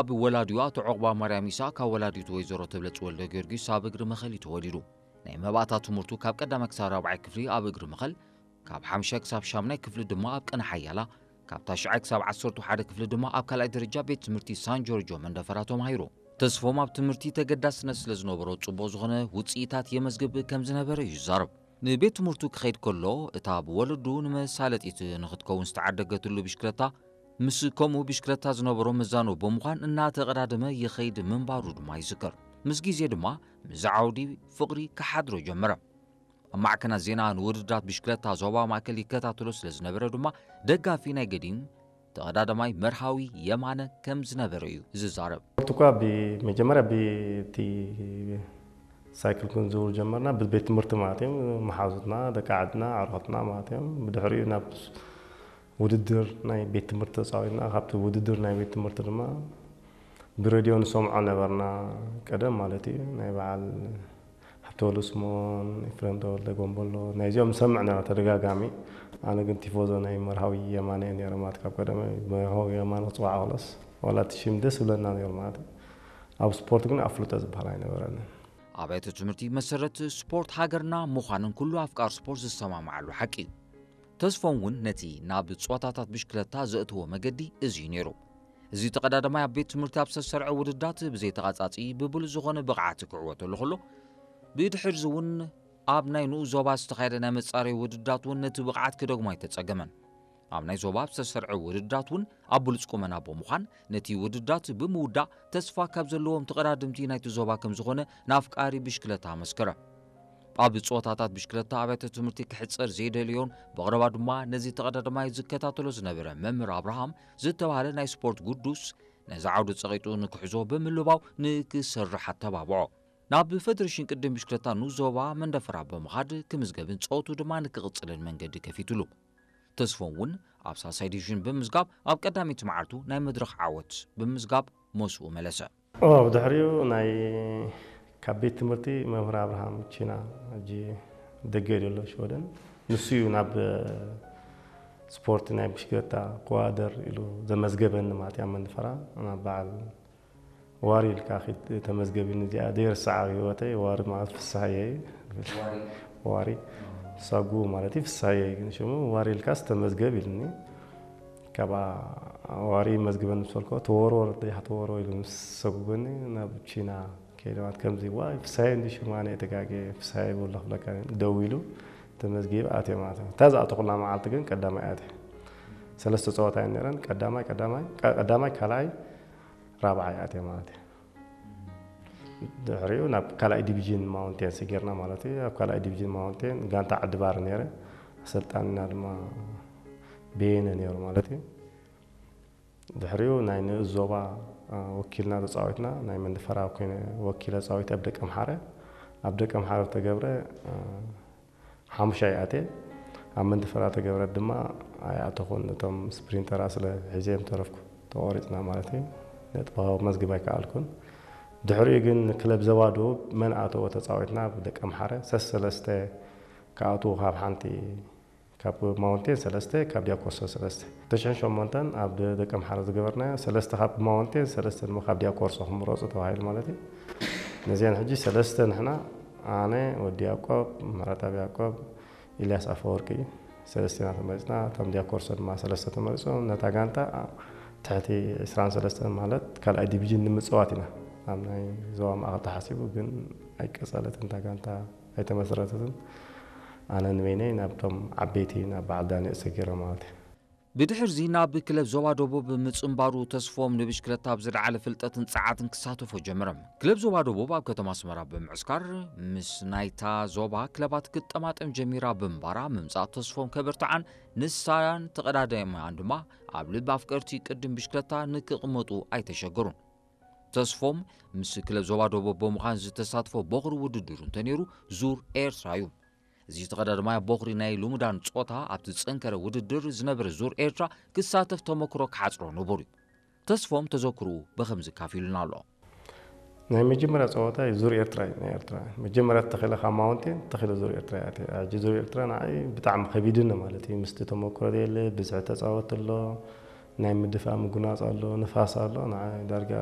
ኣብ ወላዲኡ ኣቶ ዑቕባ ማርያም ኢሳቕ ካብ ወላዲቱ ወይዘሮ ተብለጽ ወልደ ጊዮርጊስ ኣብ እግሪ መኸል እዩ ተወሊዱ። ናይ መባእታ ትምህርቱ ካብ ቀዳማይ ክሳብ ራብዓይ ክፍሊ ኣብ እግሪ መኸል፣ ካብ ሓምሻይ ክሳብ ሻምናይ ክፍሊ ድማ ኣብ ቅነ ሓያላ፣ ካብ ታሽዓይ ክሳብ ዓሰርተ ሓደ ክፍሊ ድማ ኣብ ካልኣይ ደረጃ ቤት ትምህርቲ ሳን ጆርጆ መንደፈራ ተማሂሩ። ተስፎም ኣብ ትምህርቲ ተገዳስነት ስለ ዝነበሮ ጽቡቕ ዝኾነ ውጽኢታት የመዝግብ ከም ዝነበረ እዩ ዝዛረብ። ንቤት ትምህርቱ ክኸይድ ከሎ እታ ብወለዱ ንመሳለጢት ንኽትከውን ዝተዓደገትሉ ብሽክለታ ምስ ከምኡ ብሽክለታ ዝነበሮ መዛኖ ብምዃን እናተቐዳደመ ይኸይድ ምንባሩ ድማ ይዝከር። ምስ ግዜ ድማ ምስ ዓውዲ ፍቕሪ ክሓድሮ ጀመረ። ኣብ ማዕከናት ዜና ንውድድራት ብሽክለታ ዞባ ማእከል ይከታተሎ ስለ ዝነበረ ድማ ደጋፊ ናይ ገዲም ተቐዳዳማይ መርሃዊ የማነ ከም ዝነበረ እዩ ዝዛረብ። ስፖርት እኳ ብመጀመርያ ብቲ ሳይክል ክንዝውር ጀመርና፣ ብቤት ትምህርቲ ማለት እዮም። መሓዙትና፣ ደቂ ዓድና፣ ኣዕሩኽትና ማለት እዮም። ብድሕሪኡ ናብ ውድድር ናይ ቤት ትምህርቲ ተጻዊትና፣ ካብቲ ውድድር ናይ ቤት ትምህርቲ ድማ ብሬድዮ ንሰምዖ ነበርና፣ ቀደም ማለት እዩ። ናይ በዓል ሃብተወሉ ስምኦን፣ ኤፍሬም ተወልደ፣ ጎምቦሎ፣ ናይዚኦም ንሰምዕ ነበርና ተደጋጋሚ። ኣነ ግን ቲፎዞ ናይ መርሃዊ የማነ እየ ነይረ፣ ማለት ካብ ቀደመ መርሃዊ የማነ ክጽዋዕ ከሎስ ዋላ እቲ ሽም ደስ ይብለና ነይሩ ማለት እዩ። ኣብ ስፖርት ግን ኣፍልጦ ዝበሃል ኣይነበረንን። ኣብያተ ትምህርቲ መሰረት ስፖርት ሃገርና ምዃንን ኩሉ ኣፍቃር ስፖርት ዝሰማምዓሉ ሓቂ እዩ። ተስፎም እውን ነቲ ናብ ጸወታታት ብሽክለታ ዘእተዎ መገዲ እዚ እዩ ነይሩ። እዚ ተቐዳዳማይ ኣብ ቤት ትምህርቲ ኣብ ዝተሰርዐ ውድድራት ብዘይተቓጻጺ ብብሉጽ ዝኾነ ብቕዓት ክዕወተሉ ከሎ፣ ብድሕርዚ እውን ኣብ ናይ ንኡስ ዞባ ዝተኻየደ ናይ መጻረዪ ውድድራት እውን ነቲ ብቕዓት ክደግሞ ኣይተጸገመን። ኣብ ናይ ዞባ ኣብ ዝተሰርዐ ውድድራት እውን ኣብ ብሉጽ ቁመና ብምዃን ነቲ ውድድራት ብምውዳእ ተስፋ ካብ ዘለዎም ተቐዳድምቲ ናይቲ ዞባ ከም ዝኾነ ንኣፍቃሪ ብሽክለታ ኣመስከረ። ኣብ ጸወታታት ብሽክለታ ኣብያተ ትምህርቲ ክሕጸር ዘይደልዮን ብቐረባ ድማ ነዚ ተቐዳዳማይ ዝከታተሎ ዝነበረ መምህር ኣብርሃም ዝተባህለ ናይ ስፖርት ግዱስ ነዚ ዓውዲ ጸቒጡ ንክሕዞ ብምልባው ንክሰርሕ ኣተባብዖ። ናብ ፈደሬሽን ቅድም ብሽክለታ ንኡስ ዞባ መንደፈራ ብምኻድ ክምዝገብን ጸወቱ ድማ ንክቕጽልን መንገዲ ከፊትሉ። ተስፎም እውን ኣብ ሳልሳይ ዲቪዥን ብምዝጋብ ኣብ ቀዳመይቲ መዓልቱ ናይ መድረኽ ዓወት ብምዝጋብ ሞስኡ መለሰ። ኦ፣ ብድሕሪኡ ናይ ካብ ቤት ትምህርቲ መምህር ኣብርሃም ቺና፣ ሕጂ ደገ እዩ ዘሎ ሽወደን፣ ንሱ እዩ ናብ ስፖርት ናይ ብሽክለታ ክወዳደር ኢሉ ዘመዝገበኒ ማለት እዩ። ኣብ መንደፈራ ናብ በዓል ዋሪ ኢልካ ኺድ ተመዝገብ ኢሉኒ። እዚኣ ዘይርስዓ ኣብ ህይወተይ፣ ዋሪ ማለት ፍስሃየ እዩ። ዋሪ። ዋሪ። ሳጉ ማለት እዩ፣ ፍስሃየ እዩ ግን ሽሙ። ዋሪ ኢልካስ ተመዝገብ ኢሉኒ። ካብኣ ዋሪ መዝግበኒ ምስ በልኮ፣ ተወርወር ደያሕ ተወርወር ኢሉ ምስ ሰጉበኒ ናብ ቺና ከይደ ማለት ከምዚ፣ ዋይ ፍስሃየ እንዲ ሽሙ፣ ኣነ ተጋግየ፣ ፍስሃየ ይበሎ ክብለካ ደው ኢሉ ተመዝጊበ ኣትየ ማለት እዩ። እታ ዝኣተኹላ መዓልቲ ግን ቀዳማይ ኣትየ። ሰለስተ ጸወታ እየን ነይረን። ቀዳማይ፣ ቀዳማይ፣ ቀ-፣ ቀዳማይ፣ ካልኣይ፣ ራብዓይ ኣትየ ማለት እዩ። ድሕሪኡ ናብ ካልኣይ ዲቪዥን ማውንቴን ሰጊርና ማለት እዩ። ኣብ ካልኣይ ዲቪዥን ማውንቴን ጋንታ ዓዲ ባር ነይረ። ኣሰልጣኒና ድማ በየነ ነይሩ ማለት እዩ። ድሕሪኡ ናይ ንኡስ ዞባ፣ አ፣ ወኪልና ተጻዊትና፣ ናይ መንደፈራ ኮይነ ወኪለ ተጻዊተ ኣብ ደቀምሓረ። ኣብ ደቀምሓረ ተገብረ፣ አ፣ ሓሙሻይ ኣትየ። ኣብ መንደፈራ ተገብረ ድማ ኣይኣተኹን። እቶም ስፕሪንተራ ስለ ሒዘ እዮም ተረፍኩ። ተቖሪጽና ማለት እዩ። ነጥቢ መዝግብ ኣይከኣልኩን። ድሕሪኡ ግን ክለብ ዞባ ደቡብ መን ኣተዎ ተጻዊትና፣ ብደቀምሓረ ሰሰለስተ ክኣትዉ ካብ ሓንቲ፣ ካብ ማውንቴን ሰለስተ፣ ካብ ዲያኮርሶ ሰለስተ። ክልተ ሽሕን ሸሞንተን ኣብ ደ-፣ ደቀምሓረ ዝገበርናዮ፣ ሰለስተ ካብ ማውንቴን፣ ሰለስተ ድማ ካብ ዲያኮርሶ ክምረጹ ተባሂሉ ማለት እዩ። ነዚኣን ሕጂ ሰለስተ ንሕና፣ ኣነ፣ ወዲ ያዕቆብ፣ ምሕረተኣብ ያዕቆብ፣ ኢልያስ ኣፈወርቂ፣ ሰለስቴና ተመሪጽና። እቶም ዲያኮርሶ ድማ ሰለስተ ተመሪጾም። ነታ ጋንታ ትሕቲ ዕስራን ሰለስተን ማለት ካልኣይ ዲቪዥን ንምጽዋት ኢና። ኣብ ናይ ዞባ ማእከል ተሓሲቡ ግን ኣይቀጸለትን እታ ጋንታ። ኣይተመስረተትን። ኣነ ንበይነይ ናብቶም ዓበይቲ፣ ናብ በዓል ዳንኤል ሰጊረ ማለት እዩ። ብድሕርዚ ናብ ክለብ ዞባ ደቡብ ምጽንባሩ ተስፎም ንብሽክለታ ኣብ ዝለዓለ ፍልጠትን ጸዓትን ክሳተፎ ጀመረ። ክለብ ዞባ ደቡብ ኣብ ከተማ ኣስመራ ብምዕስካር ምስ ናይታ ዞባ ክለባት ክትጠማጠም ጀሚራ ብምንባራ ምምጻእ ተስፎም ከበርትዓን ንሳን ተቐዳዳሚኣን ድማ ኣብ ልቢ ኣፍቀርቲ ቅድም ብሽክለታ ንክቕመጡ ኣይተሸገሩን። ተስፎም ምስ ክለብ ዞባ ደቡብ ብምዃን ዝተሳትፎ ቦኽሪ ውድድሩ እንተነይሩ ዙር ኤርትራ እዩ። እዚ ተቐዳዳማይ ኣብ ቦኽሪ ናይ ልሙዳን ጾታ ኣብቲ ዝጸንከረ ውድድር ዝነበረ ዙር ኤርትራ ክሳተፍ ተመክሮ ክሓጽሮ ንቡር እዩ። ተስፎም ተዘክርኡ ብኸምዚ ካፊሉና ኣሎ። ናይ መጀመርያ ጸወታ ዙር ኤርትራ እዩ፣ ናይ ኤርትራ። መጀመርያ ተኺለ ካብ ማውንቴን ተኺለ ዙር ኤርትራ እያ። ሕጂ ዙር ኤርትራ ንዓይ ብጣዕሚ ከቢድኒ ማለት እዩ። ምስቲ ተመክሮ የለ፣ ብዝሒ ተጻወት ኣሎ፣ ናይ ምድፋእ ምጉናፅ ኣሎ፣ ንፋስ ኣሎ። ንዓይ ዳርጋ